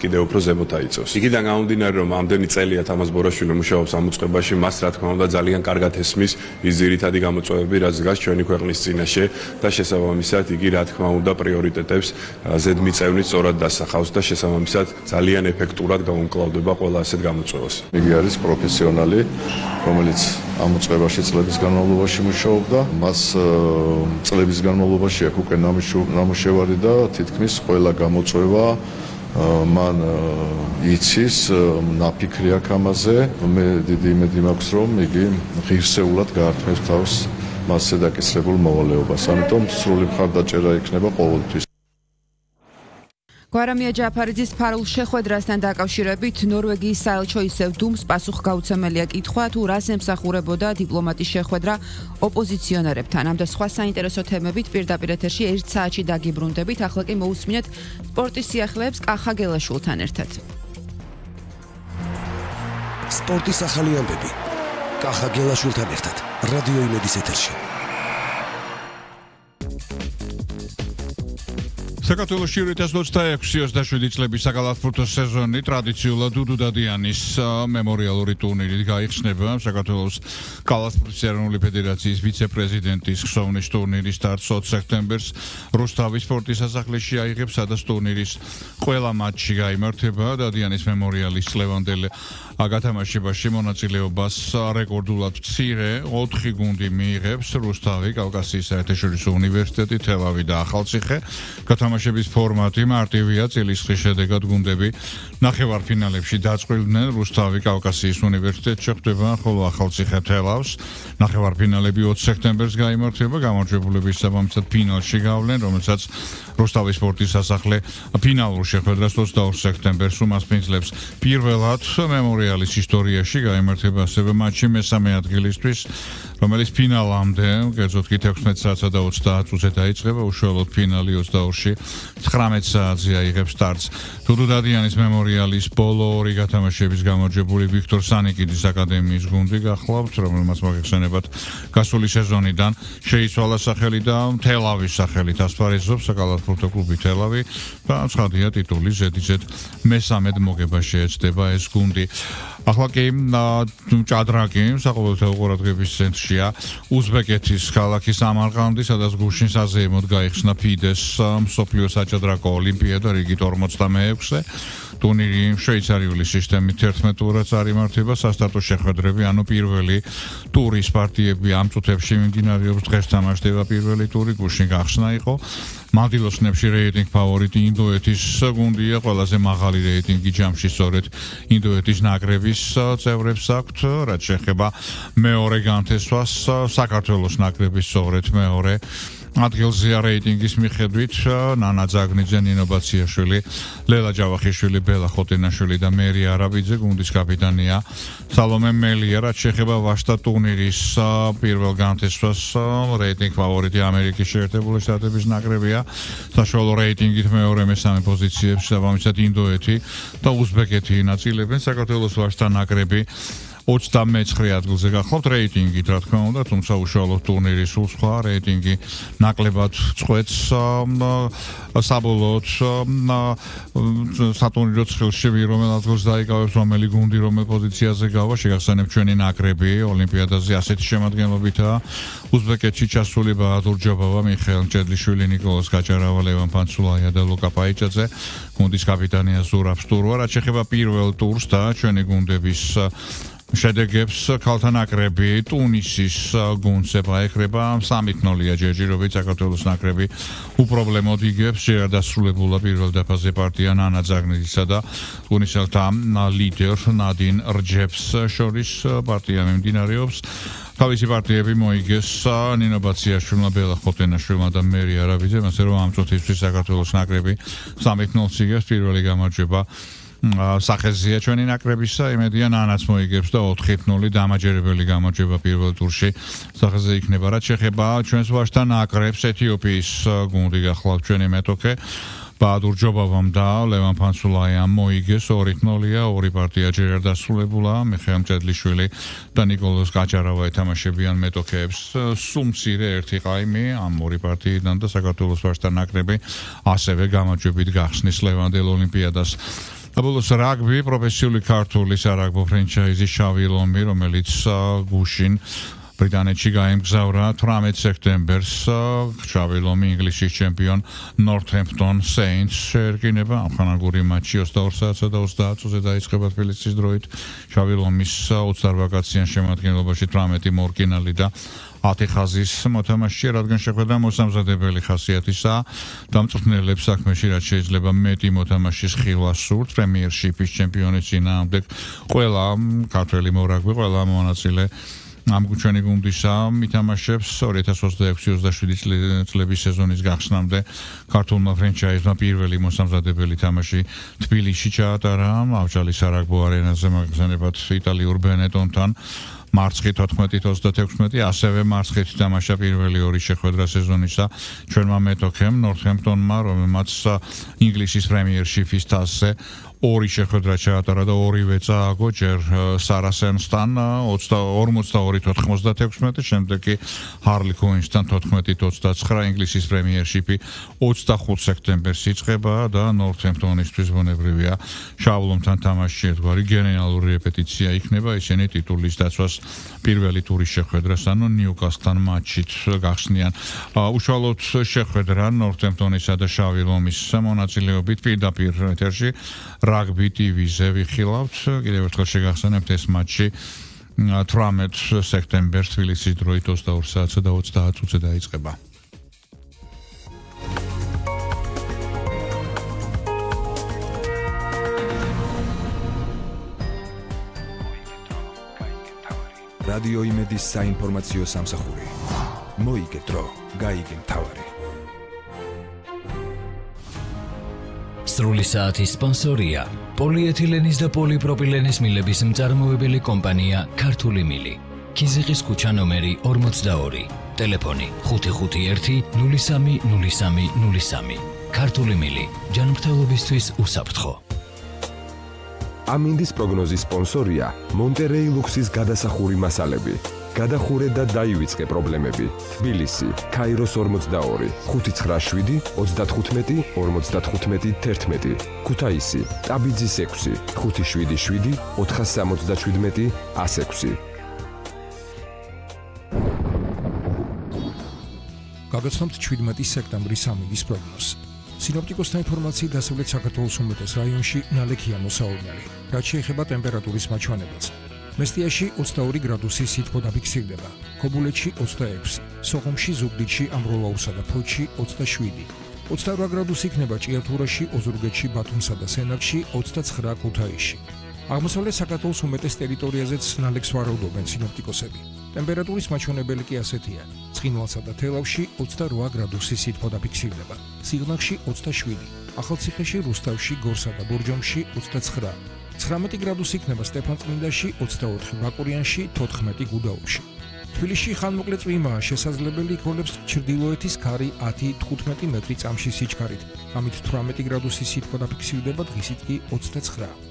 კიდევ უფრო ზემოთ აიწევს. იქიდან გამომდინარე, რომ ამდენი წელია თამაზ ბორაშვილი მუშაობს ამ უწყებაში, მას რა თქმა უნდა ძალიან კარგად ესმის ის ძირითადი გამოწვევები, რაც დგას ჩვენი ქვეყნის წინაშე და შესაბამისად იგი რა თქმა უნდა პრიორიტეტებს ზედმიწევნით სწორად დასახავს და შესაბამისად ძალიან ეფექტურად გაუმკლავდება ყველა ასეთ გამოწვევას. იგი არის პროფესიონალი, რომელიც ამ უწყებაში წლების განმავლობაში მუშაობდა, მას წლების განმავლობაში აქვს უკვე ნამუშევარი და თითქმის ყველა გამოწვევა მან იცის, ნაფიქრი აქვს ამაზე. მე დიდი იმედი მაქვს, რომ იგი ღირსეულად გაართმევს თავს მასზე დაკისრებულ მოვალეობას. ამიტომ სრული მხარდაჭერა იქნება ყოველთვის. გვარამია ჯაფარიძის ფარულ შეხვედრასთან დაკავშირებით ნორვეგიის საელჩო ისევ დუმს პასუხგაუცემელია კითხვა, თუ რას ემსახურებოდა დიპლომატის შეხვედრა ოპოზიციონერებთან. ამ და სხვა საინტერესო თემებით პირდაპირ ეთერში 1 საათში დაგიბრუნდებით. ახლა კი მოусმინეთ სპორტის სიახლეებს კახა გელაშვილთან ერთად. სპორტის ახალი ამბები კახა გელაშვილთან ერთად რადიო იმედის ეთერში. საქართველოში 2026-27 წლების საკალათბურთო სეზონი ტრადიციულად დუდუ დადიანის მემორიალური ტურნირით გაიხსნება. საქართველოს კალათბურთის ეროვნული ფედერაციის ვიცე-პრეზიდენტის ხსოვნის ტურნირის სტარტს 20 სექტემბერს რუსთავის სპორტის სასახლეში აიღებს, სადაც ტურნირის ყველა მატჩი გაიმართება. დადიანის მემორიალის წლევანდელ გათამაშებაში მონაწილეობას რეკორდულად მცირე 4 გუნდი მიიღებს: რუსთავი, კავკასიის საერთაშორისო უნივერსიტეტი, თელავი და ახალციხე. გათამაშების ფორმატი მარტივია, წილისხრის შედეგად გუნდები ნახევარფინალებში დაწყვილდნენ. რუსთავი კავკასიის უნივერსიტეტში ხვდება, ხოლო ახალციხე თელავს. ნახევარფინალები 20 სექტემბერს გაიმართება, გამარჯვებულები საბამისად ფინალში გავლენ, რომელსაც რუსთავის სპორტის სასახლე ფინალურ შეხვედრას 22 სექტემბერს უმასპინძლებს. პირველად მემორიალის ისტორიაში გაიმართება ასევე მატჩი მესამე ადგილისთვის, რომელიც ფინალამდე, კერძოდ კი 16 საათსა და 30 წუთზე დაიწყება. უშუალოდ ფინალი 22-ში 19 საათზე აიღებს სტარტს. დუდუ დადიანის მემორიალის ბოლო 2 გათამაშების გამარჯვებული ვიქტორ სანიკიძის აკადემიის გუნდი გახლავთ, რომელმაც მოგეხსენებათ გასული სეზონიდან შეიცვალა სახელი და თელავის სახელით ასპარეზობს საკალათბურთო კლუბი თელავი და ცხადია ტიტულის ზედიზედ მესამედ მოგება შეეცდება ეს გუნდი. ახლა კი ჭადრაკი საყოველთაო ყურადღების ცენტრშია. უზბეკეთის ქალაქი სამარყანდი, სადაც გუშინ საზეიმოდ გაიხსნა ფიდეს მსოფლიო საჭადრაკო ოლიმპიადა რიგით 46-ე. ტურნირი შვეიცარიული სისტემით 11 ტურად წარიმართება. სასტარტო შეხვედრები, ანუ პირველი ტურის პარტიები ამ წუთებში მიმდინარეობს. დღეს თამაშდება პირველი ტური, გუშინ გახსნა იყო. მადილოსნებში რეიტინგ ფავორიტი ინდოეთის გუნდია, ყველაზე მაღალი რეიტინგი ჯამში სწორედ ინდოეთის ნაკრების წევრებს აქვთ. რაც შეეხება მეორე განთესვას, საქართველოს ნაკრების სწორედ მეორე ადგილზეა რეიტინგის მიხედვით ნანა ძაგნიძე, ნინო ბაციაშვილი, ლელა ჯავახიშვილი, ბელა ხოტენაშვილი და მერი არაბიძე. გუნდის კაპიტანია სალომე მელია. რაც შეეხება ვაშტა ტურნირის პირველ განთესვას, რეიტინგ ფავორიტი ამერიკის შეერთებული შტატების ნაკრებია. საშუალო რეიტინგით მეორე მესამე პოზიციებს საბამისად ინდოეთი და უზბეკეთი ინაწილებენ. საქართველოს ვაშტა ნაკრები 29 ადგილზე გახლავთ რეიტინგით, რა თქმა უნდა, თუმცა უშუალოდ ტურნირი სულ სხვა რეიტინგი ნაკლებად წყვეტს საბოლოოდ სატურნირო ცხრილში რომელ ადგილს დაიკავებს, რომელი გუნდი რომელ პოზიციაზე გავა. შეგახსენებ ჩვენი ნაკრები ოლიმპიადაზე ასეთი შემადგენლობითაა: უზბეკეთში ჩასული ბაადურ ჯობავა, მიხეილ მჭედლიშვილი, ნიკოლოზ გაჭარავა, ლევან ფანცულაია და ლუკა პაიჭაძე. გუნდის კაპიტანია ზურაბ სტურვა. რაც შეეხება პირველ ტურს და ჩვენი გუნდების შედეგებს, ქალთა ნაკრები ტუნისის გუნდს ეხება 3-0-ია ჯერჯერობით. საქართველოს ნაკრები უპრობლემოდ იგებს. ჯერ დასრულებულა პირველ დაფაზე პარტია ნანა ძაგნიძისა და ტუნისელთა ლიდერ ნადინ რჯეფს შორის პარტია მიმდინარეობს. თავისი პარტიები მოიგეს ნინო ბაციაშვილმა, ბელა ხოტენაშვილმა და მერი არაბიძემ, ასე რომ ამ წუთისთვის საქართველოს ნაკრები 3-0 იგებს. პირველი გამარჯვება სახეზია ჩვენი ნაკრებისა, იმედია ნანაც მოიგებს და 4-0 დამაჯერებელი გამარჯვება პირველ ტურში სახეზე იქნება. რაც შეეხება ჩვენს ვაჟთა ნაკრებს, ეთიოპიის გუნდი გახლავთ ჩვენი მეტოქე. ბაადურ ჯობავამ და ლევან ფანცულაიამ მოიგეს 2-0-ია, ორი პარტია ჯერ არ დასრულებულა. მიხეილ მჭედლიშვილი და ნიკოლოზ გაჭარავა ეთამაშებიან მეტოქეებს. სულ მცირე ერთი ყაიმი ამ ორი პარტიიდან და საქართველოს ვაჟთა ნაკრები ასევე გამარჯვებით გახსნის ლევანდელ ოლიმპიადას. ბოლოს რაგბი პროფესიული ქართული სარაგბო ფრენჩაიზი შავი ლომი, რომელიც გუშინ ბრიტანეთში გაემგზავრა 18 სექტემბერს შავი ლომი ინგლისის ჩემპიონ Northampton Saints შეერკინება ამხანაგური მატჩი 22 საათსა და 30 წუთზე დაიწყება თბილისის დროით შავი ლომის 28-კაციან შემადგენლობაში 18 მორკინალი და 10 ხაზის მოთამაშეა, რადგან შეხვედრა მოსამზადებელი ხასიათისაა, დამწვრთნელებს საქმეში რაც შეიძლება მეტი მოთამაშის ხილვა სურთ, პრემიერშიპის ჩემპიონის წინააღმდეგ ყველა ქართველი მორაგბი, ყველა მონაწილე ამ ჩვენი გუნდისა მითამაშებს 2026-27 წლების სეზონის გახსნამდე ქართულმა ფრენჩაიზმა პირველი მოსამზადებელი თამაში თბილისში ჩაატარა ავჭალის სარაგბო არენაზე მაგზანებად იტალიურ ბენეტონთან მარცხი 14-26, ასევე მარცხით თამაშა პირველი ორი შეხვედრა სეზონისა ჩვენმა მეტოქემ Northampton-მა, რომელმაც ინგლისის პრემიერშიპის თასზე ორი შეხვედრა ჩაატარა და ორივე წააგო ჯერ Saracens-თან 42-96, შემდეგ კი Harlequins-თან 14-29 ინგლისის პრემიერშიპი 25 სექტემბერს იწყება და Northampton-ისთვის ბუნებრივია შავლომთან თამაში ერთგვარი გენერალური რეპეტიცია იქნება, ისინი ტიტულის დაცვას პირველი ტურის შეხვედრას, ანუ Newcastle-თან მატჩით გახსნიან. უშუალოდ შეხვედრა Northampton-ისა და შავი ლომის მონაწილეობით პირდაპირ ეთერში რაგბი TV-ზე ვიხილავთ. კიდევ ერთხელ შეგახსენებთ ეს მატჩი 18 სექტემბერს თბილისის დროით 22 საათსა და 30 წუთზე დაიწყება. რადიო იმედის საინფორმაციო სამსახური. მოიგე დრო, გაიგე მთავარი. სრული საათის სპონსორია პოლიეთილენის და პოლიპროპილენის მილების მწარმოებელი კომპანია ქართული მილი. ქიზიყის ქუჩა ნომერი 42, ტელეფონი 551 030303. ქართული მილი, ჯანმრთელობისთვის უსაფრთხო. ამინდის პროგნოზის სპონსორია მონტერეი ლუქსის გადასახური მასალები. გადახურე და დაივიწყე პრობლემები. თბილისი, ქაიროს 42, 597 35 55 11. ქუთაისი, ტაბიძის 6, 577 477 106. გაგაცნობთ 17 სექტემბრის ამინდის პროგნოზს. სინოპტიკოსთა ინფორმაციით დასავლეთ საქართველოს უმეტეს რაიონში ნალექია მოსავალნელი, რაც შეეხება ტემპერატურის მაჩვენებელს. მესტიაში 22 გრადუსი სითბო დაფიქსირდება, ქობულეთში 26, სოხუმში, ზუგდიდში, ამროლაურსა და ფოთში 27, 28 გრადუსი იქნება ჭიათურაში, ოზურგეთში, ბათუმსა და სენაკში, 29 ქუთაისში. აღმოსავლეთ საქართველოს უმეტეს ტერიტორიაზეც ნალექს ვარაუდობენ სინოპტიკოსები. ტემპერატურის მაჩვენებელი კი ასეთია: ცხინვალსა და თელავში 28 გრადუსი სითბო დაფიქსირდება, სიღნაღში 27, ახალციხეში, რუსთავში, გორსა და ბორჯომში 29. 19 გრადუსი იქნება სტეფანწმინდაში, 24 ბაკურიანში, 14 გუდაუთში. თბილისში ხანმოკლე წვიმაა, შესაძლებელი იქნებს ჩრდილოეთის ქარი 10-15 მეტრი წამში სიჩქარით. ამით 18 გრადუსი სითბო დაფიქსირდება, დღისით კი 29.